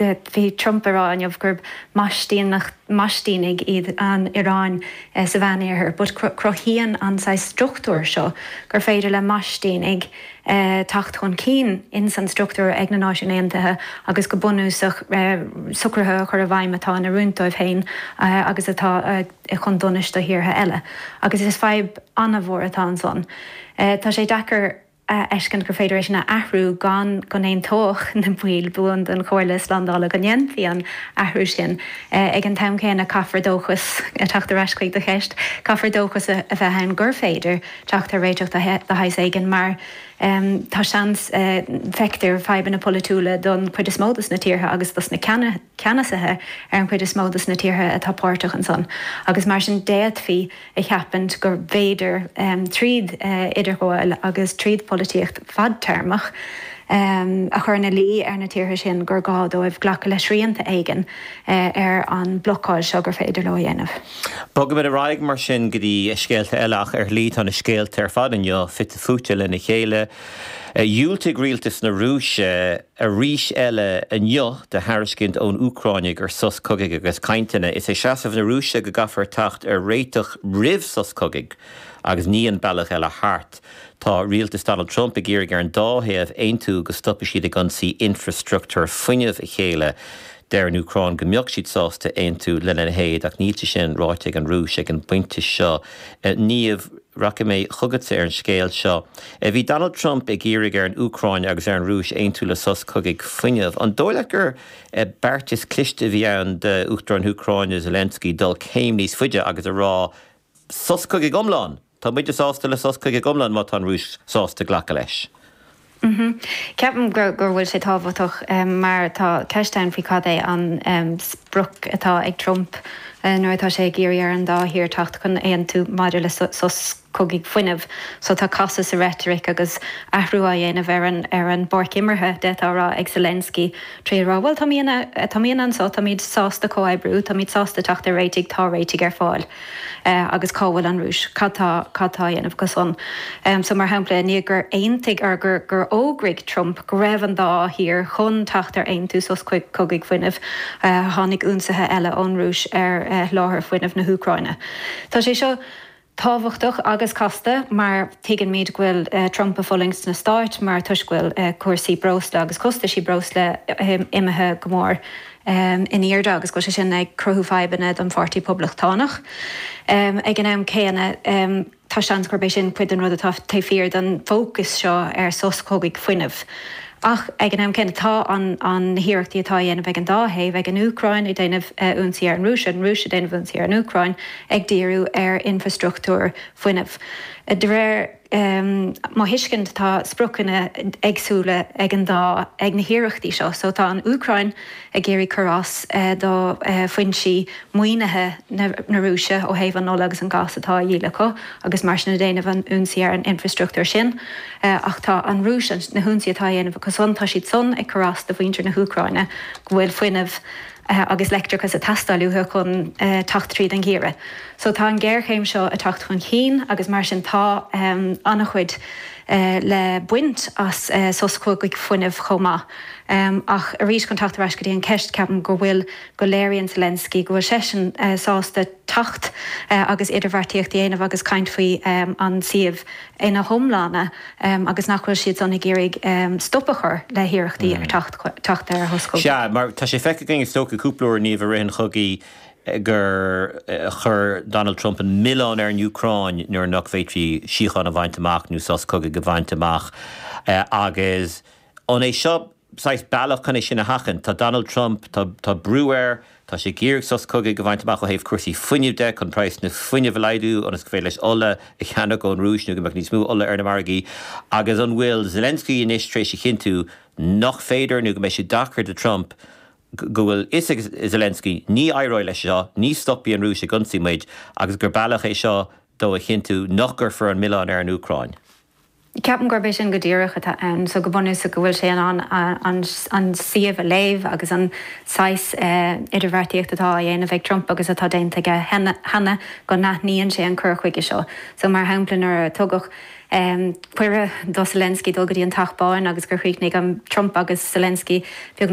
Bhí Trump ag rá inniu gurb maistínigh iad an Iaráin sa Mheánoirthear but cruthaíonn an saghas struchtúr seo gur féidir le maistínigh teacht chun cinn ins an struchtúr ag na Náisiúin Aontaithe agus go bunúsach socruithe a chur i bhfeidhm atá in oiriúint dóibh féin agus atá chun donais do thíortha eile. Agus is fadhb an-mhór atá ansan. Tá sé deacair. a fheiscint gur féidir é sin a athrú gan go n-aontódh na baill buan den Chomhairle Slándála go ndéanfaí an athrú sin. Ag an t-am céanna, caithfear dóchas, ag teacht ar ais chuig do cheist, caithfear dóchas a bheith ann gur féidir teacht ar réiteach de shaghas éigin mar tá seans, feictear fadhbanna polaitiúla don chuid is mó dos na tíortha agus dos na ceannasaithe ar an chuid is mó dos na tíortha atá páirteach ansan agus mar sin d'fhéadfaí a cheapaint gur bhféidir, tríd idirghabháil agus tríd polaitíocht fadtéarmach, a chur ina luí ar na tíortha sin gur gá dóibh glacadh le srianta éigin ar an mblocáil seo gur féidir leo a dhéanamh. Bogaimid ar aghaidh mar sin go dtí scéalta eile ach ar shlí tá na scéalta ar fad inniu fite fuaite lena chéile. Dhiúltaigh rialtas na Rúise arís eile inniu do thairiscint ón Úcráin ar sos cogaidh agus cainteanna. Is é seasamh na Rúise go gcaithfear teacht ar réiteach roimh sos cogaidh agus ní an bealach eile thart. Tá rialtas Donald Trump ag iarraidh ar an dá thaobh aontú go stopfaidh siad ag ionsaí infreastruchtúr fuinnimh a chéile. Deir an Úcráin go mbeadh siad sásta aontú lena leithéid ach níl sé sin ráite ag an Rúis ag an bpointe seo. Niamh, rachaidh mé chugatsa ar an scéal seo. Bhí Donald Trump ag iarraidh ar an Úcráin agus ar an Rúis aontú le sos cogaidh fuinnimh. An dóigh leat gur beartas cliste a bhí ann d'Uachtarán na hÚcráine Zelensky dul céim níos faide agus a rá sos cogaidh iomlán! Tá muide sásta le sos cogaidh iomlán má tá an Rúis sásta glacadh leis. Ceapaim go bhfuil sé tábhachtach mar tá ceist ann faoi cad é an sprioc atá ag Trump nuair atá sé ag iarraidh ar an dá thír teacht chun aontú maidir le sos cogaidh fuinnimh. So tá casadh sa reitric agus athrú á dhéanamh ar an ar an bpáirc imeartha, d'fhéadfá a rá, ag Zelensky trí a rá bhuel táimid anseo, táimid sásta comhoibriú, táimid sásta teacht ar réitigh, tá réitigh ar fáil. Agus cá bhfuil an Rúis? Cad tá, cad tá á dhéanamh acu san? So, mar shampla, i ndiaidh gur aontaigh, or gur, gur fhógraigh Trump go raibh an dá thír chun teacht ar aontú sos cogaidh fuinnimh, tháinig ionsaithe eile ón Rúis ar sholáthar fuinnimh na hÚcráine. Tá sé seo tábhachtach agus casta mar tuigeann go bhfuil Trump ag fulaingt sna Stáit mar toisc go bhfuil cúrsaí breosla agus costaisí breosla imithe go mór in airde agus go bhfuil sé sin ag cruthú fadhbanna don Pháirtí Poblachtánach. Ag an am céanna, tá seans gurb é sin cuid den rud atá taobh thiar den bhfócas seo ar sos cogaidh fuinnimh. Ach ag an am céanna, tá an na hiarrachtaí atá á dhéanamh ag an dá thaobh, ag an Úcráin ag déanamh ionsaí ar an Rúis, an Rúis ag déanamh ionsaí ar an Úcráin, ag díriú ar infreastruchtúr fuinnimh. De réir mo thuiscint, tá spriocanna éagsúla ag an dá, ag na hiarrachtaí seo. So tá an Úcráin ag iarraidh cur as do foinsí maoinithe na Rúise ó thaobh an ola agus an gas atá á dhíol acu agus mar sin ag déanamh an ionsaí ar an infreastruchtúr sin. Ach tá an Rúis, na hionsaí atá á dhéanamh acu san, tá siad san ag cur as do mhuintir na hÚcráine go bhfuil fuinneamh agus leictreachas ag teastáil uathu chun teacht tríd an gheimhreadh. So tá an ghéarchéim seo ag teacht chun cinn agus mar sin tá an-chuid le baint as sos cogaidh fuinnimh chomh maith. Ach arís chun teacht ar ais go dtí an cheist, ceapaim go bhfuil, go léiríonn Zelensky go bhfuil seisean sásta teacht agus idirbheartaíocht a dhéanamh agus caint faoi an suíomh ina hiomláine agus nach bhfuil siad san ag iarraidh stop a chur le hiarrachtaí ar teacht ar shos cogaidh. Sea, mar tá sé feicthe againn is dócha cúpla uair Niamh i rith an chogaidh gur chuir Donald Trump an milleán ar an Úcráin nuair nach bhféadfaí síocháin a bhaint amach nó sos cogaidh a bhaint amach agus an é seo saghas bealach chun é sin a sheachaint? Tá Donald Trump, tá tá brú air, tá sé ag iarraidh sos cogaidh a bhaint amach ó thaobh cúrsaí fuinnimh de chun praghas na fuinnimh a laghdú ionas go féidir leis ola a cheannach ón Rúis nó go mbeadh níos mó ola ar na margaí agus an bhfuil Zelensky anois tar éis a chinntiú nach féidir nó go mbeidh sé deacair do Trump go bhfuil fhios ag Zelensky ní éireoidh leis seo, ní stopfaidh an Rúis ag ionsaí muid agus gur bealach é seo dó a chinntiú nach gcuirfear an milleán ar an Úcráin. Ceapaim gurb é sin go díreach atá ann. So go bunúsach go bhfuil sé in ann an suíomh a léamh agus an saghas idirbheartaíocht atá á dhéanamh ag Trump agus atá déanta aige cheana, go n-aithníonn sé an cur chuige seo. So mar shampla nuair a tugadh cuireadh do Zelensky dul go dtí an Teach Bán agus gur chríochnaigh an Trump agus Zelensky beagnach.